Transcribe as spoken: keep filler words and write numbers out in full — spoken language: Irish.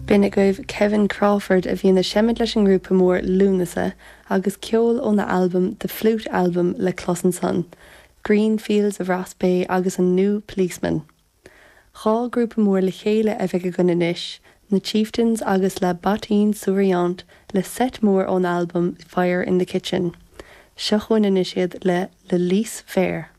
B'in agaibh Kevin Crawford a bhíonn ag seimint leis an ngrúpa mór Lúnasa agus ceol óna albam The Flute Album le clos ansan, Green Fields of Rossbeigh agus an New Policeman. Dhá grúpa mór le chéile a bheidh againn anois, na Chieftains agus le Bottine Souriante le seit mór ón albam Fire in the Kitchen. Seo chugainn anois iad le Le Lys Vert.